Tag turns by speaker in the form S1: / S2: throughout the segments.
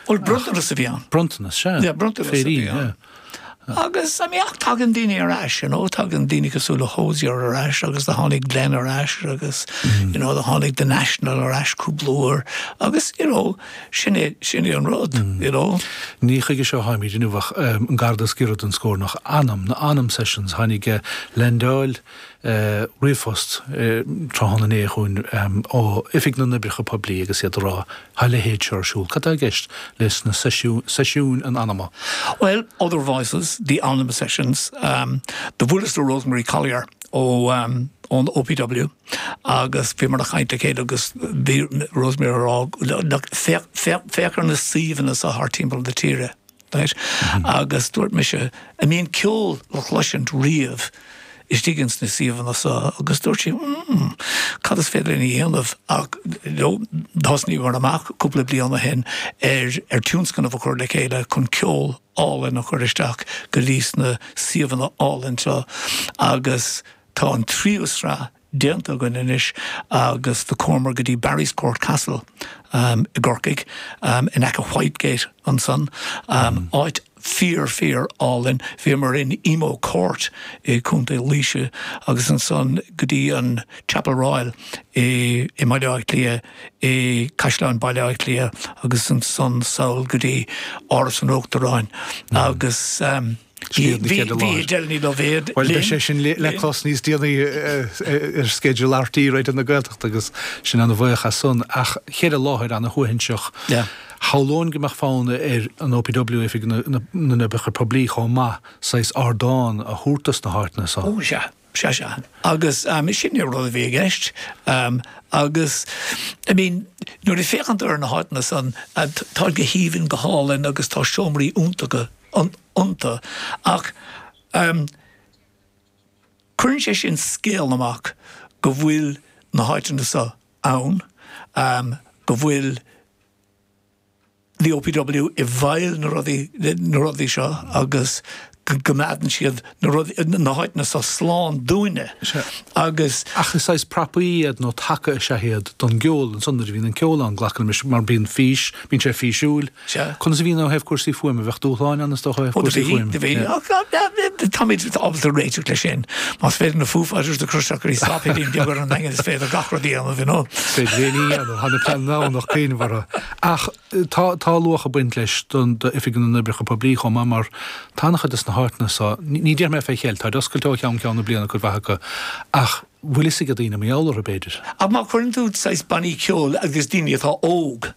S1: Bhuel, bronntanas a bhí ann.
S2: Bronntanas, sea.
S1: Yeah, bronntanas a bhí ann. Agus, I mean, ach tagann daoine ar ais, you know, tagann daoine cosúil le Hozier ar ais agus do tháinig Glen ar ais agus, you know, do tháinig The National ar ais cúpla uair agus, you know, sin é, sin é an rud, you know.
S2: Ní chuige seo a tháimid inniu ach an garda is giorra don scornach. Anam, na Anam Sessions, tháinig Len Doyle, ríomhphost tráthnóna inné chugainn ó Oifig na nOibreacha Poiblí agus iad ag rá, Tá a leithéid seo ar siúl. Cad tá i gceist leis na seisiúin an anama?
S1: Bhuel, Other Voices, The Anam Sessions, do bhuaileas le Rosemary Collier ó ón OPW agus bhíomar ag caint le chéile agus bhí Rosemary ag rá, look, féach, féach, féach ar na suíomhanna seo thart timpeall na tíre. Right? Agus dúirt mise, an mbíonn ceol le chloisint riamh istigh ins na suíomhanna seo? Agus dúirt sí, mm, cad is féidir linn a dhéanamh? Ach you know, thosnaíomar amach cúpla bliain ó shin ar, ar tionscnamh a chur le chéile chun ceol álainn a chur isteach go dtí sna suíomhanna álainn seo agus tá an tríú sraith déanta againn anois agus do chuamar go dtí Barryscourt Castle i gCorcaigh, in aice Whitegate ansan, áit fíor fíor álainn. Bhíomar in Emo Court i Contae Laoise agus ansan go dtí an Chapel Royal i mBaile Átha Cliath, i Caisleán Baile Átha Cliath agus ansan sall go dtí Áras an Uachtaráin agus.
S2: Bhí
S1: Edel Ní Loibhéad
S2: Bhuel, beidh sé sin le clos níos déanaí ar sceideal RTÉ Raidió na Gaeltachta agus sinn ana-bhuíoch as san. Ach cheithre láthair ana-shuaithinseach. Shamhlóinn go mbeadh fonn ar an OPW, Oifig na nOibreacha Poiblí, chomh maith, saghas ardán a thabhairt dos na háiteanna
S1: so. Ó, sea. Sea, sea. Agus sin an rud a bhí i gceist. Agus, I mean, nuair a féachann tú ar na háiteanna san, tá go haoibhinn, go hálainn agus tá seomraí iontacha iontu. Ach cuireann sé sin scéal amach go bhfuil na háiteanna seo ann, go bhfuil the OPW i bhfeighil na rudaí, na rudaí seo agus go gcoimeádann siad na rudaí, na háiteanna seo slán dúinne. Agus.
S2: Ach is saghas prapaí iad nó taca is ea iad don gceol ansan nuair a bhíonn an ceol ann, glacaim leis, mar bíonn fís, bíonn sé físiúil.
S1: Sea.
S2: Conas a bhíonn ó thaobh cúrsaí fuaime? Bheadh dúshláin ann is dócha ó thaobh cúrsaí fuaime.
S1: Do bhí, do bhí. Táimid ábalta réiteach leis sin. Más féidir na Foo Fighters a chur isteach go dtí sáipéilín beag ar an nDaingean is féidir gach rud a dhéanamh, you know.
S2: Is féidir aon ní a dhéanamh, tá na pleananna ann ach cuimhneamh orthu. Ach tá, tá luach ag baint leis don, d'Oifig na nOibreacha Poiblí chomh maith mar tá an-chuid des na háiteanna so, ní déarfaidh mé fé cheilt, táid oscailte ó cheann ceann na bliana cuid mhaith acu ach bhfuil fhios ag daoine mar gheall orthu b'fhéidir.
S1: Ach má chuireann tú saghas bannaí ceoil agus daoine atá óg,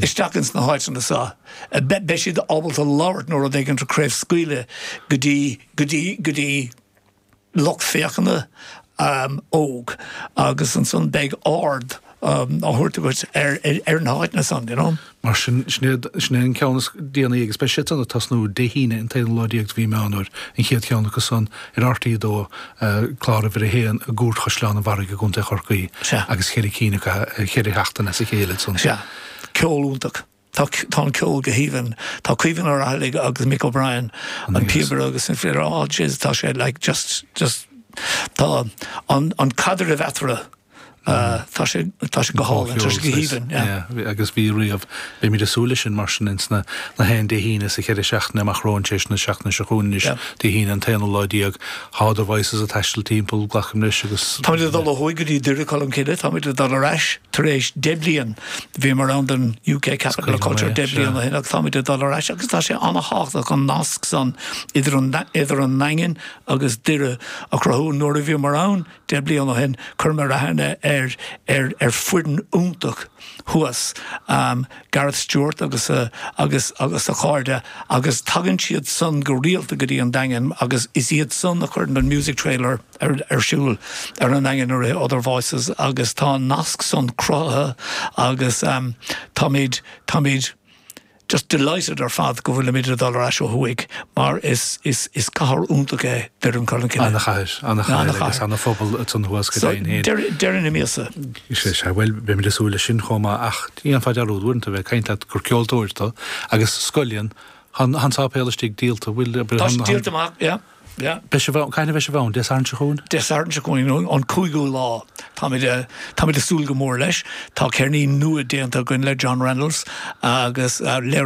S1: isteach ins na háiteanna seo, beidh siad ábalta labhairt nó rud éigin a chraobhscaoileadh go dtí, go dtí, go dtí lucht féachana óg agus ansan beidh aird á thabhairt agat ar, ar na háiteanna san, you know.
S2: Mar sin, sin é, sin é an ceann is déanaí agus beidh siad san ag tosnú Dé hAoine an t-aonú lá déag de mhí Meán Fhómhair, an chéad cheann acu san ar RTÉ 2, clár uimhir a haon i gCúirt Chaisleán an Bharraigh i gContae Chorcaí agus cheithre cinn acu, cheithre sheachtain as a chéile
S1: ansan. Sea. Ceol iontach. Tá, tá an ceol go haoibhinn. Tá Caoimhín Ó Raghallaigh agus Mick O'Brien, an píobaire agus an fidléir, oh jeez, tá sé like just, just, tá an, an caidreamh eatarthu, tá sé, tá sé go hálainn, tá sé go haoibhinn,
S2: yeah. Yeah, agus bhí riamh. Beimid ag súil leis sin mar sin ins na haon Dé hAoine sa cheithre seachtaine amach romhainn tar éis na seachtaine seo chugainn anois, Dé hAoine an t-aonú lá déag. Tá Other Voices ag taisteal timpeall, glacaim leis, agus.
S1: Táimid ag dul ó thuaidh go dtí Doire Cholm Cille, táimid ag dul ar ais tar éis 10 bliain. Bhíomar ann don UK Capital of Culture 10 bliain ó shin agus táimid ag dul ar ais agus tá sé an-thábhachtach an nasc san idir an idir an nDaingean agus Doire a chruthú. Nuair a bhíomar ann 10 bliain ó shin chuireamar aithne ar ar ar foireann iontach thuas, Gareth Stewart agus a agus agus a chairde agus tagann siad san go rialta go dtí an Daingean agus is iad san a chuireann an music trailer ar ar siúl ar an nDaingean i rith Other Voices agus tá an nasc san cruthaithe agus táimid táimid just delighted ar fad go bhfuilimid ag dul ar ais ó thuaidh mar is is is cathair iontach é Doire Cholm Cille.
S2: Ana-chathair, ana-chathair agus ana-phobal ansan thuas go deimhin
S1: féin. So deireadh na míosa.
S2: Sea, sea, bhuel beimid ag súil leis sin chomh maith ach dhéanfá dearúd uaireanta a bheith ag caint leat gur ceoltóir tú agus scoileann, tá an sáipéal istigh díolta, bhfuil,
S1: Tá sé díolta amach, yeah.
S2: Yeah. Beidh sibh ann, cathain a bheidh sibh ann? Dé Sathairn seo chugainn?
S1: Dé Sathairn seo chugainn, an cúigiú lá. Táimid, táimid ag súil go mór leis. Tá ceirnín nua déanta againn le John Reynolds agus léiritheoir.